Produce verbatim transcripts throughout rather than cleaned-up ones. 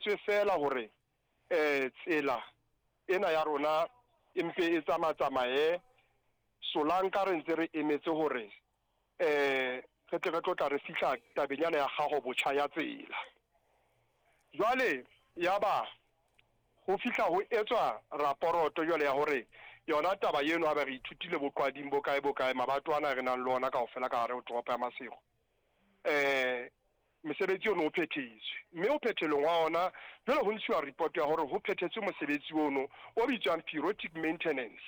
Tswe feela hore um tsela ena ya rona e mpe e tsama-tsamaye solanka re ntse re emetse hore um re tle re tlo tla re fihla tabeng yana ya gago botjha ya tsela. Jwale ya ba ho fihla ho etswa raporoto jwale ya hore yona taba eno ha ba re ithutile boqwading bo kae bo kae mabato ana re nang le ona kaofela ka hare ho toropo ya Maseru, um mosebetsi ono o phethetswe, mme o phethelong wa ona jwale ho ntshiwa report ya hore ho phethetswe mosebetsi ono o bitswang periodic maintenance.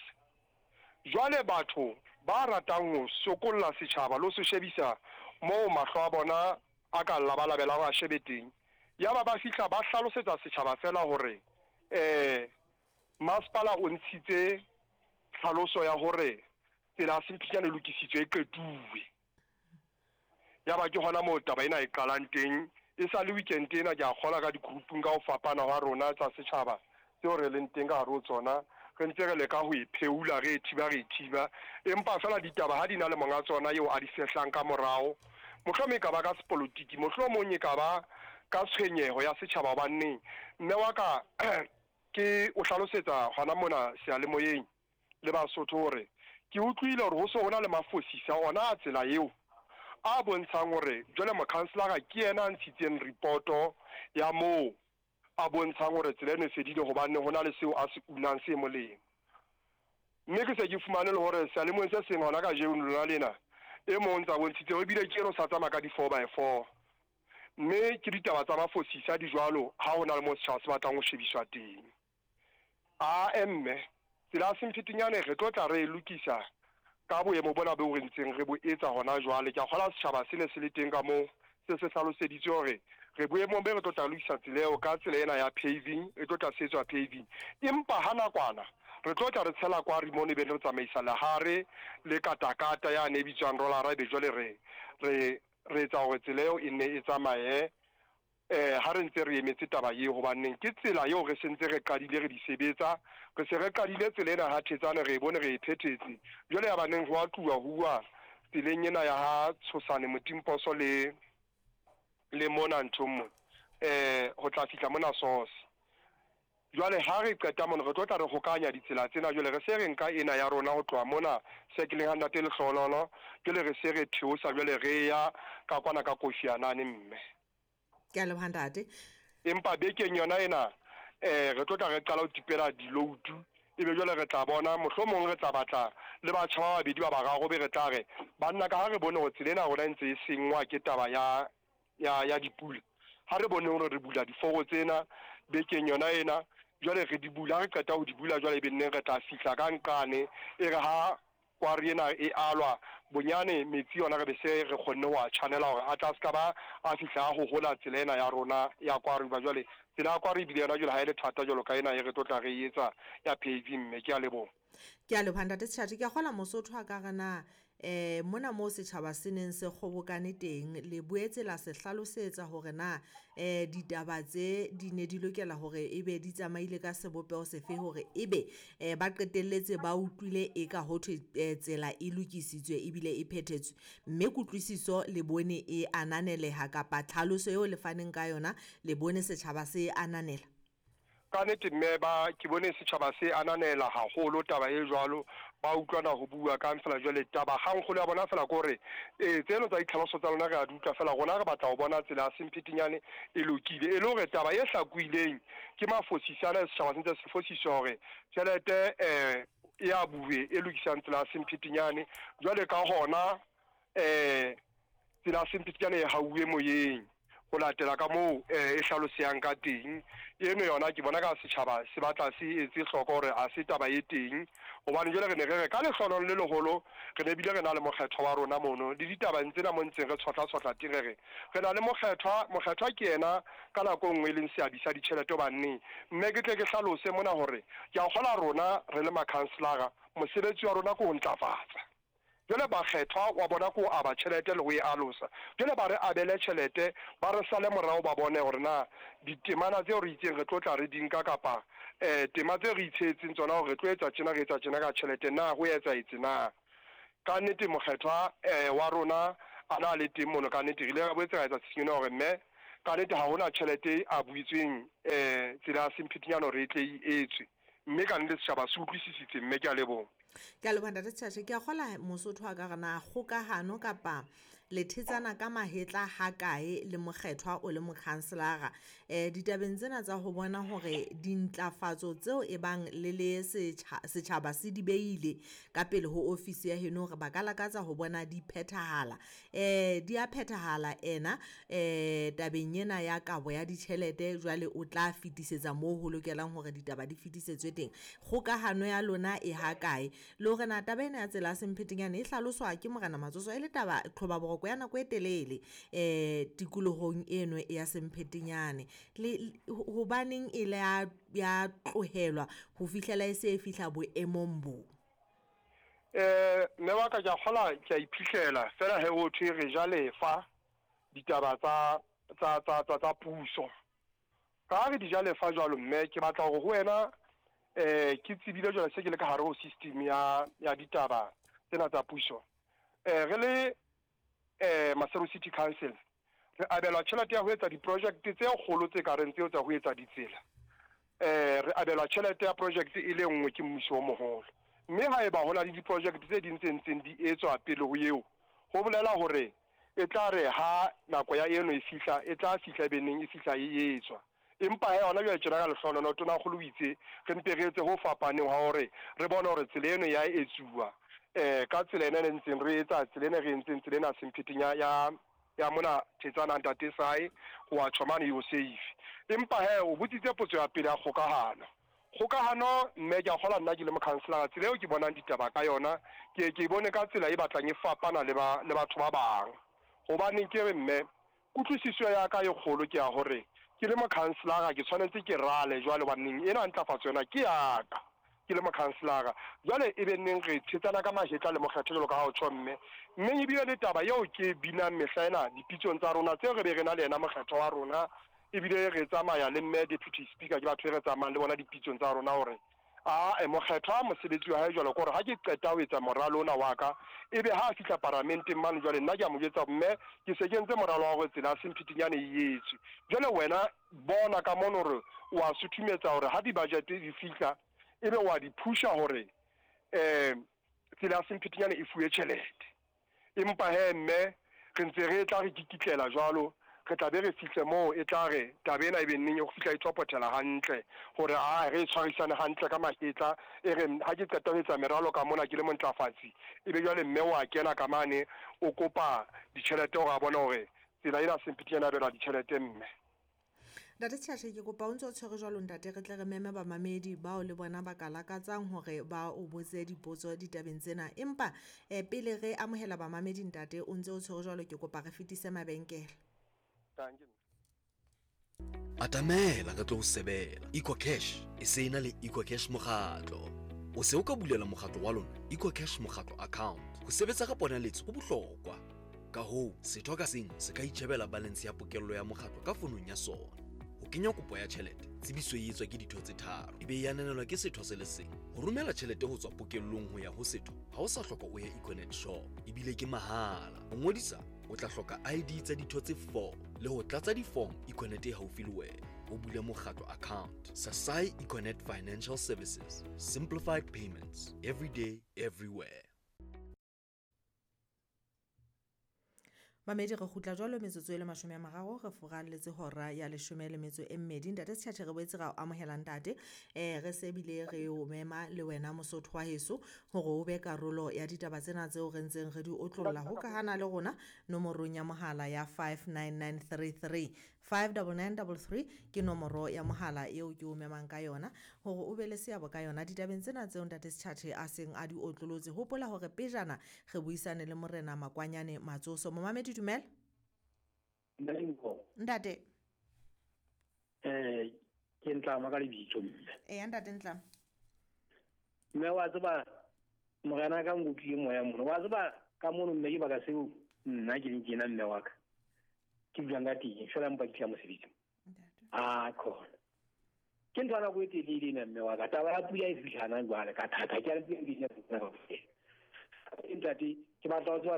Jwale batho ba ratang ho sokolla setjhaba le ho se shebisa moo mahlo a bona a ka labalabela hore a shebe teng, ya ba ba fihla ba hlalosetsa setjhaba fela hore um masepala o ntshitse tlhaloso ya hore tsela ya Semphedinyane e lokisitswe e qetuwe. Ya ba ke hona moo taba ena e qalang teng. E sa le weekend ena ke a kgola ka di-group-ung ka ho fapana hwa rona tsa setjhaba tseo re leng teng ka hare ho tsona, re ntse re leka ho e pheula, re e thiba, re e thiba, empa fela ditaba ha di na le monga tsona eo a di fehlang ka morao. Mohlomong e ka ba ka sepolotiki, mohlomong e ka ba ka tshwenyeho ya setjhaba, hobane mme wa ka ke o hlalosetsa hona mona seyalemoyeng le Basotho hore ke utlwile hore ho so hona le mafosisa ona a tsela eo a bontshang hore jwale mokhanselara ke yena a ntshitseng ripoto ya moo a bontshang hore tsela eno e fedile hobane ho na le seo a se unang se molemo. Mme ke se ke fumane le hore seyalemoyeng se seng hona kajeno lona lena e mong ntsa bontshitse hore ebile ke eno sa tsamaya ka di-four by four. Mme ke ditaba tsa mafosisa di jwalo ha ho na le moo setjhaba se batlang ho shebiswa teng. Ae mme tsela ya Semphedinyane re tlo tla re e lokisa ka boemo bona beo re ntseng re bo etsa hona jwale. Ke a kgolwa setjhaba se ne se le teng ka moo, se se hlaloseditswe hore re boemong be re tlo tla lokisa tsela eo ka tsela ena ya paving, e tlo tla setswa paving. Empa ha nakwana re tlo tla re tshela kwari mono, ebe re tsamaisa lehare le katakata yane e bitswang rollara, ebe jwale re re re etsa hore tsela eo e nne e tsamaye eh ha re ntse re emetse taba eo, hobaneng ke tsela eo re sentse re qadile re di sebetsa. Re se re qadile tsela ena ha Thetsane, re e bone re e phethetse. Jwale ya baneng ho a tluwa huwa tseleng ena ya ha Tshosane Motimposo le le mona nthong mona eh ho tla fihla mona Source. Jwale ha re qeta mona re tlo tla re hokanya ditsela tsena. Jwale re se re nka ena ya rona ho tloha mona sekeleng ha Ntate Lehlohonolo, jwale re se re theosa jwale re ya ka kwana ka Kofi Anane mme. Ke a leboha ntate. Empa bekeng yona ena eh re tlo tla re qala ho tipela di-load, ebe jwale re tla bona mohlomong re tla batla le batjha ba babedi ba bararo, be re tla re banna ka ha re bone hore tsela ena rona e ntse e sengwa ke taba ya ya ya dipula, ha re bone hore re bula diforo tsena bekeng yona ena. Jwale re di bula, re qeta ho di bula jwale ebe nneng re tla fihla ka nqane e re ha kwari ena e alwa bonyane metsi yona re be se re kgonne ho a channela hore a tla ska ba a fihla a hohola tsela ena ya rona ya kwari. Ba jwale tsela ya kwari ebile yona jwale ha e le thata jwalo ka ena e re tlo tla re e etsa ya paving mme. Ke a leboha. Ke a leboha ntate Sejati. Ke a kgola Mosotho a ka re na eh mona moo setjhaba se neng se kgobokane teng, le boetse la se hlalosetsa hore na eh ditaba tse di ne di lokela hore ebe di tsamaile ka sebopeho sefe hore ebe eh ba qetelletse ba utlwile e ka ho thwe eh, tsela e lokisitswe ebile e phethetswe, mme kutlwisiso le bone e ananeleha kapa tlhaloso eo le faneng ka yona le bone setjhaba se ananela? Ka nnete mme ba ke bone setjhaba se ananela haholo taba e jwalo, ba utlwana ho bua ka fela jwale taba kgangkgolo ya bona fela ke hore eh tseno tsa ditlhaloso tsa lona re a di utlwa fela, rona re batla ho bona tsela ya Semphedinyane e lokile, e le hore taba e hlakuileng ke mafosisa ana setjhaba se ntse se fosiswa hore tjhelete eh e a bue e lokisang tsela ya Semphedinyane. Jwale ka hona eh tsela ya Semphedinyane e hauwe moyeng ho latela ka moo eh e hlalosehang ka teng. Eno yona ke bona ka setjhaba se batla se etse hloko hore a se taba e teng, hobane jwale re ne re re ka lehlohonolo le leholo re ne bile re na le mokgethwa wa rona mono le ditabeng tsena mo ntseng re tshotla-tshotla teng, re re re na le mokgethwa. Mokgethwa ke yena ka nako e nngwe e leng seabi sa ditjhelete hobane mme ke tle ke hlalose mona hore ke a kgola rona re le makhanselara mosebetsi wa rona ke ho ntlafatsa. Jwale bakgethwa wa bona ke ho aba tjhelete le ho e alosa, jwale ba re abele tjhelete ba re sale morao ba bone hore na ditemana tseo re itseng re tlo tla re di nka kapa eh tema tseo re itshehetseng tsona hore re tlo etsa tjena re etsa tjena ka tjhelete na ho etsahetse na. Ka nnete mokgethwa eh wa rona a na le teng mono, ka nnete re ile ra boetse ra etsa tshisinyo hore mme Ka nnete ha hona tjhelete a buitsweng eh tsela ya Semphetinyane hore e tle e etswe. Mme ka nnete setjhaba se utlwisisitse mme ke a leboha. Ke a leboha ntate Setjhatjhe. Ke a kgola Mosotho a ka re na kgokahano kapa le thetsana ka mahetla ha kae le mokgethwa o le mokhanselara eh ditabeng tsena tsa ho bona hore dintlafatso tseo e bang le le setjhaba se di beile ka pele ho ofisi ya heno hore ba ka lakatsa ho bona di phethahala, eh di a phethahala ena eh tabeng ena ya kabo ya ditjhelete jwale o tla fetisetsa moo ho lokelang hore ditaba di fetisetswe teng. Kgokahano ya lona e ha kae le hore na taba ena ya tsela ya Semphetinyane e hlaloswa ke Morena Matsoso e le taba qhoba boroko ya nako e telele eh tikolohong eno ya Semphetinyane, le hobaneng e le ya ya tlohelwa ho fihlela e se e fihla boemong bo? Eh mme wa ka ke a kgola ke a iphihlela fela he ho thwe re ja lefa ditaba tsa tsa tsa tsa tsa puso. Ka re di ja lefa jwalo mme ke batla hore ho wena eh ke tsebile jwale se ke le ka hare ho system ya ya ditaba tsena tsa puso. Eh re le eh Maseru City Council re abelwa tjhelete ya ho etsa di-project tse kgolo tse ka reng tseo tsa ho etsa ditsela. Eh re abelwa tjhelete ya project e le nngwe ke mmuso o moholo. Mme haeba ho na le di-project tse ding tse ntseng di etswa pele ho eo, ho bolela hore e tla re ha nako ya eno e fihla, e tla fihla beneng e fihla e etswa. Empa he hona jwale tjena ka lehlohonolo Tonakgolo o itse re mpe re etse ho fapaneng ha hore re bone hore tsela eno ya etsuwa eh ka tsela ena e ntseng re etsa tsela ena re entseng tsela ena Semphetinya ya ya mona Thetsana ntate Sai ho wa tjho mane yo safe. Empa he o botsitse potso ya pele ya kgokahano. Kgokahano mme ke a kgola nna ke le mokhanselara tsela eo ke bonang ditaba ka yona ke ke bone ka tsela e batlang e fapana le ba le batho ba bang. Hobaneng ke re mme kutlwisiso ya ka e kgolo ke ya hore ke le mokhanselara ke tshwanetse ke rale jwale hobaneng ena ntlafatso yona ke ya ka ke le mokhanselara. Jwale e be neng re thetsana ka mahetla le mokgetho jwalo ka ha o tjho mme. Mme ebile le taba eo ke binang mehla ena dipitsong tsa rona tseo re be re na le yena mokgetho wa rona ebile re tsamaya le mme deputy speaker ke batho e re tsamayang le bona dipitsong tsa rona hore a e mokgetho mosebetsi wa hae jwalo ke hore ha ke qeta ho etsa moralo ona wa ka ebe ha a fihla paramenteng mane jwale nna ke a mo jwetsa mme ke se ke entse moralo wa hore tsela ya Semphetinyane e etswe. Jwale wena bona ka mono hore o a suthumetsa hore ha di-budget di fihla ebe wa di phusha hore eh tsela ya Semphetinyane e fuwe tjhelete. Empa he mme re ntse re tla re kikitlela jwalo re tla be re fihle moo e tla re taba ena e be neng e go fihla e tswapothela hantle hore a re tshwarisane hantle ka mahetla e re ha ke qeta ho etsa meralo ka mona ke le montlafatsi e be jwale mme wa kena ka mane o kopa ditjhelete hore a bone hore tsela ena Semphetinyane a belwa ditjhelete mme. Ntate Setjhatjhe ke kopa o ntse o tshwere jwalo ntate re tle re meme bamamedi bao le bona ba ka lakatsang hore ba o botse dipotso ditabeng tsena. Empa eh, pele re amohela bamamedi ntate o ntse o tshwere jwalo ke kopa re fetise mabenkele. Atamela re tlo o sebela. EcoCash e se ena le EcoCash mokgatlo. O se o ka bulela mokgatlo wa lona EcoCash mokgatlo account. Ho sebetsa ka ponaletso ho bohlokwa. Ka hoo, setho ka seng se ka itjhebela balance ya pokello ya mokgatlo ka fonong ya sona. Ho kenya kopo ya tjhelete, tsebiso e etswa ke ditho tse tharo, ebe e ananelwa ke setho se le seng. Ho romela tjhelete ho tswa pokellong ho ya ho setho, ha o sa hloka o ye Econet shop, ebile ke mahala. Ho ngodisa, o tla hloka I D tsa ditho tse four le ho tlatsa di-form Econet e haufi le wena. Ho bula mokgatlo account. Sasai Econet Financial Services. Simplified payments. Every day, everywhere. Mamedi re kgutla jwalo metsotso e le mashome a mararo re furalletse hora ya leshome le metso e mmedi. Ntate Setjhatjhe re boetse ra o amohela ntate eh re se bile re o mema le wena Mosotho wa heso hore o be karolo ya ditaba tsena tseo re ntseng re di otlolla ho kahana le rona nomorong ya mohala ya five nine nine three three five nine nine three three ke nomoro ya mohala eo ke o memang ka yona hore o be le seabo ka yona ditabeng tsena tseo ntate Setjhatjhe a seng a di otlolotse. Hopola hore pejana re buisane le Morena Makwanyane Matsoso. Momamedi dumela. Ntate. Eh ke Ntlama ka lebitso mme. Eh ntate Ntlama. Mme wa tseba morena ka nkutlwile moya mono. Wa tseba ka mono mme ke baka seo nna ke leng tjena mme wa ka. Ke buang ka teng fela mpa ke tla mosebetsi. Ah khona. Ke ntho nako e telele ena mme wa ka. Taba ya pula e fihlana jwale ka thata ke a le pula e fihlana. Ntate ke batla ho tseba